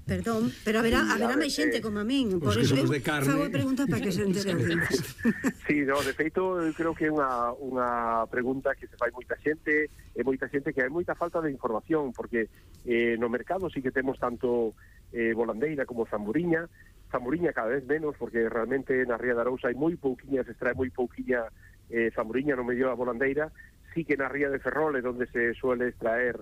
perdón, pero haberá máis xente como a min, por iso fago a pregunta para que se entere. Sí, no, de feito, eu creo que é unha pregunta que se fai moita xente, e moita xente que hai moita falta de información, porque no mercado sí que temos tanto volandeira como zamburiña cada vez menos, porque realmente na Ría de Arousa hai moi pouquiña, se extrae moi pouquiña zamburiña no medio da volandeira. Sí que na Ría de Ferrol é onde se suele extraer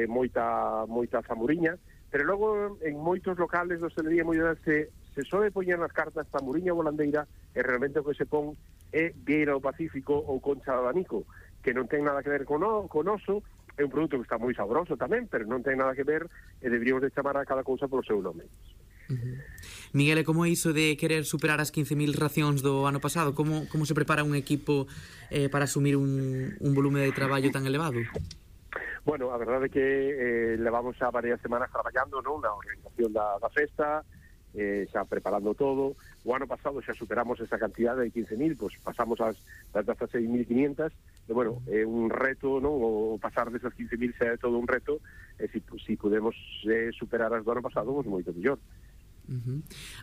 moita zamburiña, pero logo en moitos locales de hostelería se sobe poñer nas cartas zamburiña volandeira, e realmente o que se pon é vieira do Pacífico ou concha de abanico, que non ten nada que ver con oso. É un produto que está moi sabroso tamén, pero non ten nada que ver, e deberíamos de chamar a cada cousa polo seu nome. Miguel, e como é iso de querer superar as 15.000 racións do ano pasado? Como se prepara un equipo para asumir un volume de traballo tan elevado? Bueno, a verdade é que levamos xa varias semanas traballando, non, na organización da festa, xa preparando todo. O ano pasado xa superamos esa cantidad de 15.000, pois pasamos das 6.500, e bueno, é un reto, non, o pasar desas 15.000 xa é todo un reto, e si podemos superar as do ano pasado, pois moito mellor.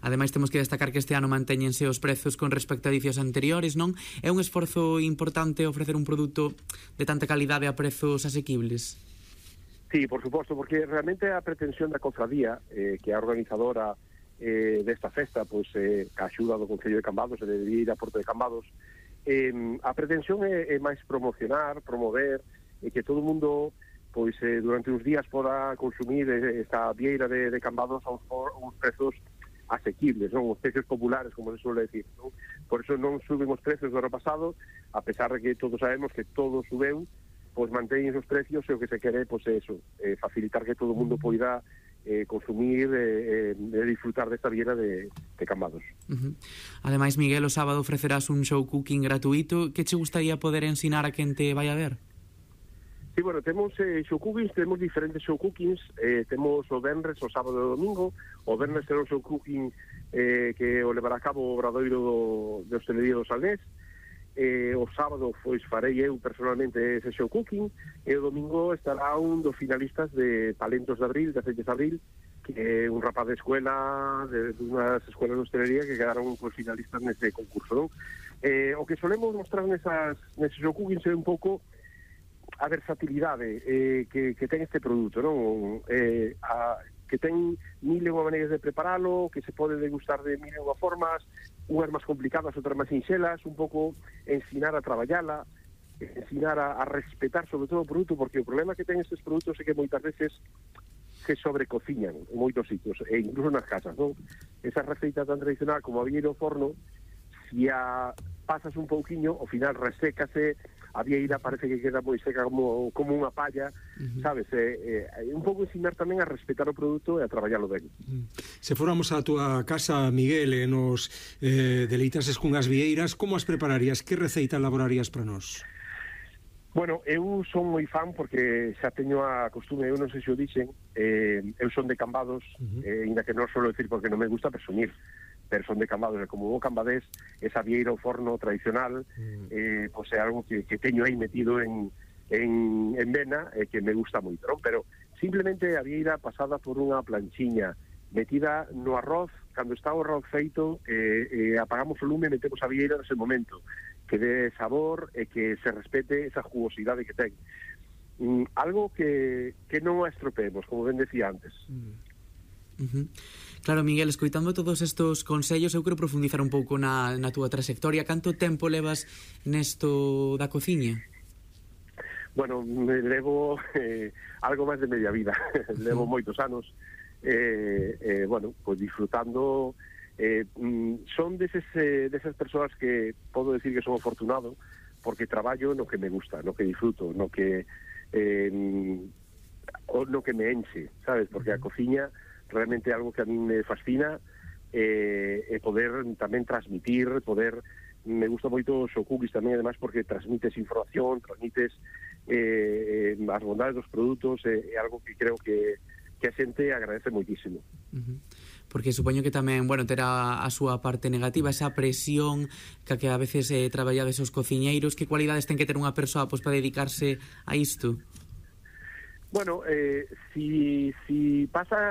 Ademais temos que destacar que este ano mantéñense os prezos con respecto a edicións anteriores, non? É un esforzo importante ofrecer un produto de tanta calidade a prezos asequibles? Sí, por suposto, porque realmente a pretensión da cofradía, que é a organizadora desta festa, pois a axuda do Concello de Cambados, e debería ir a Porto de Cambados, a pretensión é máis promover, e que todo o mundo pois durante uns días poda consumir esta vieira de Cambados a uns prezos asequibles, non? Os precios populares, como se suele decir, non? Por eso non suben os precios do ano pasado, a pesar de que todos sabemos que todo subeu, pois manteñen os precios, e o que se quere, pois é eso, facilitar que todo o mundo poida consumir e disfrutar desta vieira de Cambados. Ademais, Miguel, o sábado ofrecerás un show cooking gratuito. Que che gustaría poder ensinar a quen te vai a ver? Sí, bueno, temos show cookings, temos diferentes show cookings, temos o venres, o sábado e o domingo. O venres será un show cooking que o levará a cabo o obradoiro de hostelería do Salnés. O sábado pois farei eu personalmente ese show cooking, e o domingo estará un dos finalistas de Talentos de Abril, de Aceites de Abril, que é un rapaz de escuela, de unhas escuelas de hostelería que quedaron pois finalistas nese concurso, non? O que solemos mostrar neses show cookings é un pouco a versatilidade que ten este produto, non? Que ten mil e unha maneiras de preparalo, que se pode degustar de mil e unha formas, unhas máis complicadas, outras máis sinxelas, un pouco ensinar a traballala, ensinar a respetar sobre todo o produto, porque o problema que ten estes produtos é que moitas veces se sobrecociñan en moitos sitios, e incluso nas casas, non? Esa receita tan tradicional como a vieira ao forno, se a pasas un pouquiño, ao final resécase, a vieira parece que queda moi seca como unha palla, sabes? Un pouco ensinar tamén a respetar o produto e a traballalo ben. Se fóramos a túa casa, Miguel, e nos deleitases cunhas vieiras, como as prepararías? Que receita elaborarías para nós? Bueno, eu son moi fan porque xa teño a costume, eu non sei se o dixen, eu son de Cambados, ainda que non suelo decir porque non me gusta presumir, pero son de Cambados, e como bo cambadés, esa vieira ao forno tradicional pois é algo que teño aí metido en vena, e que me gusta moito, non? Pero simplemente a vieira pasada por unha planchiña, metida no arroz, cando está o arroz feito, apagamos o lume e metemos a vieira nese momento, que dé sabor e que se respete esa jugosidade que ten. Algo que non a estropeemos, como ben decía antes. Claro, Miguel, escoitando todos estos consellos, eu quero profundizar un pouco na túa trayectoria. Canto tempo levas nesto da cociña? Bueno, levo algo máis de media vida. Levo moitos anos, bueno, pues disfrutando. Son desas persoas que podo decir que son afortunado, porque traballo no que me gusta, no que disfruto, no que me enche, sabes? Porque a cociña realmente é algo que a mí me fascina, e poder tamén transmitir, me gusta moito o show cookies tamén, además, porque transmites información, transmites as bondades dos produtos, é algo que creo que a xente agradece moitísimo. Porque supoño que tamén, bueno, terá a súa parte negativa, esa presión que a veces traballades os cociñeiros. Que cualidades ten que ter unha persoa pois para dedicarse a isto? Bueno, si pasa